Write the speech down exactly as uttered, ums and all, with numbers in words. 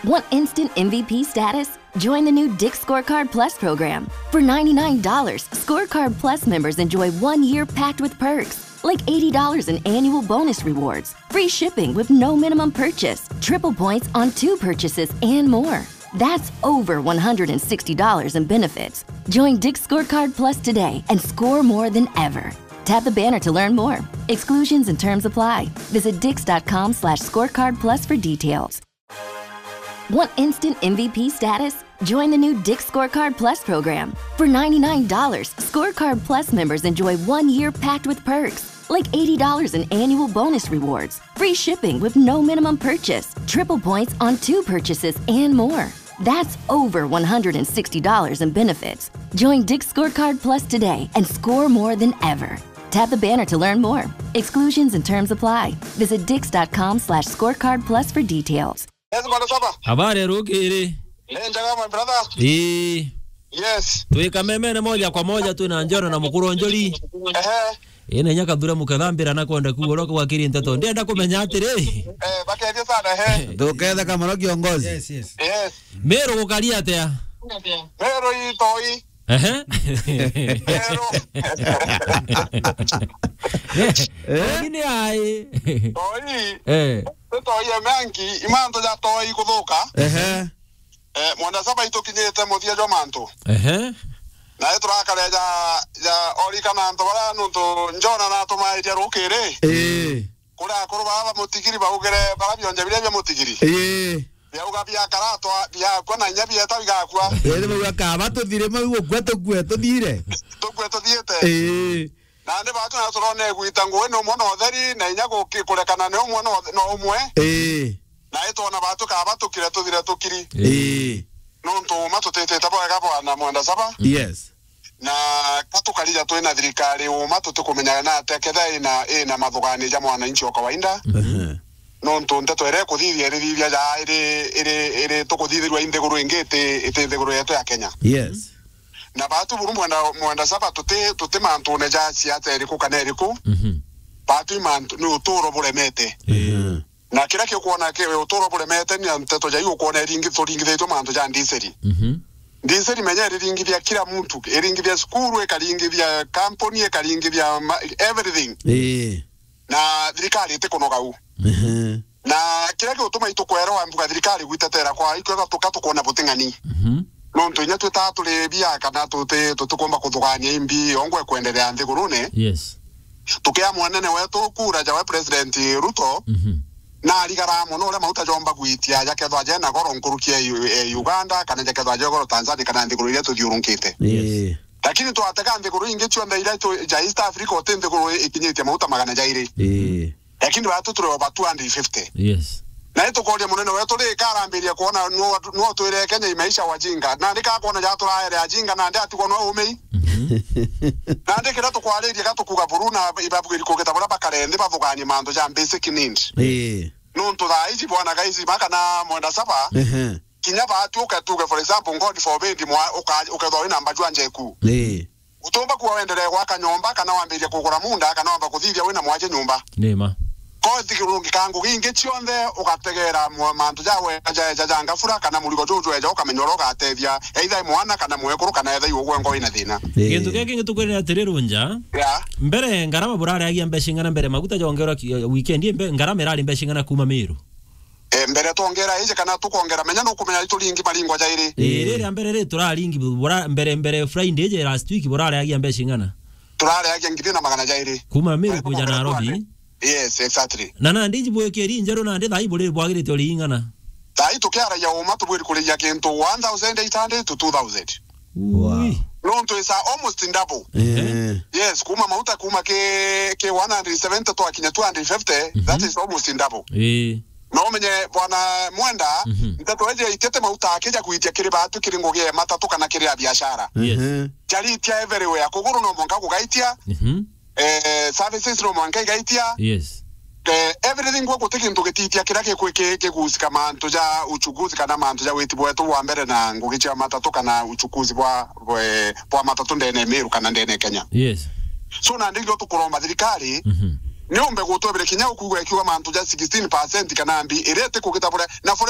Want instant M V P status? Join the new Dick's Scorecard Plus program. For ninety-nine dollars, Scorecard Plus members enjoy one year packed with perks, like eighty dollars in annual bonus rewards, free shipping with no minimum purchase, triple points on two purchases, and more. That's over one hundred sixty dollars in benefits. Join Dick's Scorecard Plus today and score more than ever. Tap the banner to learn more. Exclusions and terms apply. Visit dicks.com slash scorecard plus for details. Want instant M V P status? Join the new Dick's Scorecard Plus program. For ninety-nine dollars, Scorecard Plus members enjoy one year packed with perks, like eighty dollars in annual bonus rewards, free shipping with no minimum purchase, triple points on two purchases, and more. That's over one hundred sixty dollars in benefits. Join Dick's Scorecard Plus today and score more than ever. Tap the banner to learn more. Exclusions and terms apply. Visit dicks.com slash scorecard plus for details. Yes, Bwana Saba. Habari rukiri? Ni njega, my brother. Ii. Yes. Twi kamemene moja kwa moja, twina Njoro na Mukuru Njuri. Ehe. Ina inya kathure mukethambira na kwenda kuuga uria kwakiri nteto. Ndienda kumenya atiri. Eh, bakethie sana, he. Tuketha kamaro kiongozi. Yes, yes. Yes. Meru gukari atia? Meru itoi. Ehe. Meru. Lakini ai. Toi. Eh. Toi ya mangi, imanto ja toi kuthuka. Ehe. Eh, Mwenda Saba itukinyite muthia jwa mantu. Ehe. Na iturakare ja, ja orikana antu bara nuntu Njona natumairia rukiri. Ii. Kuri akuru baba mutigiri baugire bara bionje biria bia mutigiri. Ii. Biauga biakaratwa, biakua na inya bieta bigakua. Iri bauga kaba tuthire mau gukua tukue tuthire. Tukue tuthiite. Ii. Nandi batu na turone gwita ngugi ni umwe na utheri, na inya guki-, kurekana ni umwe na uthe-, na umwe. Ii. Na itwona batu kaba tukire tuthire tukiri. Ii. Nuntu uma tutitite bwega bwana Mwenda Saba. Yes. Na ka tukarija twina thirikari uma tutikumenya na atia ketha ina, ina mathugani ja mwananchi wa kawaida. Mhm. Nuntu nteto iria ikuthithia irithithia ja iri, iri, iri tukuthithirua i nthiguru ingi iti, iti nthiguru yetu ya Kenya. Yes. Na batu buru Mwenda, Mwenda Saba tuti, tuti mantune ja siasa iriku kana iriku. Mhm. Batu i mantu, ni uturo buremete. Mhm. Na kiria kiukwona ki uturo buremete ni nteto ja iu ukwona iringi-, turingithitue mantu ja ndiseri. Mhm. Ndiseri menya iriringithia kila muntu, iringithia cukuru, ikaringithia kampuni, ikaringithia ma-, everything. Ii. Na thirikari itikunoga u. Mhm. Na kiria giutuma itukwera wa mbuga thirikari gwitetera kwa ikwega tuka tukwona buting'ani. Mhm. Nontu inya twita turi bia kana tuti, tutikumba kuthugania imbi ongwe kwenderea nthigurune. Yes. Tukia mwanene wetu kura jawe President Ruto, mhm, na arigara mono uria mauta jomba gwitia jakethwa jena goro nkuruki ya U-, ya Uganda, kana jakethwa je goro Tanzania, kana nthiguru iria tuthiurunkite. Yes. Ii. Lakini twatega nthiguru ingi cionthe iria tu-, ja East Africa, uti nthiguru ikinyitie mauta magana jairi. Ii. Lakini batu turi over two hundred fifty. Yes. Na itukoria munene wetu ri karambiria kuona nuo, nuo twire Kenya imaisha wajinga. Na ndi kakwona ja turaere ajinga, na ndi atigwo no umei. Mhm. Na ndi kiria tukwariria gatukuga buru na ibabwiri kugita buria bakare nthi bathuganie mantu ja basic need. Ii. Nuntu thaa iji bwana Gaisima kana Mwenda Saba, ehe, kinya batu uke tuge, for example, God forbid, mwa-, uka-, ukethwa wina mbaju ya njeku. Ii. Utumba kuwa wendelee gwaka nyomba, kana wambirie kugura munda, kana wamba kuthithia wina mwaje nyomba. Ni ma. Kothi rungi ka ngugi ingi cionthe, ugategera mwa-, mantu ja we-, ja, ja, ja ngabura, kana murigo juju eja, ukamenya uria ugatethia, either i mwana, kana mwekuru, kana etha i ugwe ngo wina thina. Ii. Gintu kia kingi tukwirira atiri Runja. Yeah. Mbere ngarama burareagia mbeca ing'ana mbere maguta jongerwa ki-, weekend ii mbe-, ngarama irari mbeca ing'ana kuma Miru? Eh, mbere twongera iji kana tukongera, menya nukumenya ituringi maringo jairi. Ii, ii, riria mbere ri turaringi bura-, mbere, mbere Friday iji last week burareagia mbeca ing'ana? Turareagia ngiri na magana jairi. Kuma Miru kuja Nairobi? Yes, exactly. Na nandi iji bwikiri njeru nandi thaa ii buri bwagirite uri ing'ana? Thaa ii tukiaragia uma tubwiri kurigia kintu one thousand eight hundred to two thousand. Wow. Ui. Nontu is almost double. Eh. Yes, kuma mauta kuma ki, ki one hundred seventy twakinya two hundred fifty, mhm, that is almost double. Eh. No umenye bwana Mwenda, mhm, nteto eje itete mauta akija kuitia kiri batu kiri ngugi ya matatu kana kiri ya biashara. Yes. Mhm. Jaritia everywhere. Kuguru no mwanka kugaitia. Mhm. Eh, services no mwanka igaitia. Yes. Eh, everything gwe guti gintu gititia kiria gikwi-, ki-, kigusika mantu ja uchukuzi kana mantu ja witi bwetu bwa mbere na ngugi cia matatu kana uchukuzi bwa, bwe-, bwa matatu ndene ya Meru kana ndene ya Kenya. Yes. So, nandi ndio tukuromba thirikari, mhm, niumbe gutwebire kinya ukugwa ikiuga mantu ja sixteen percent kana mbi iria iti kugita buria. Na for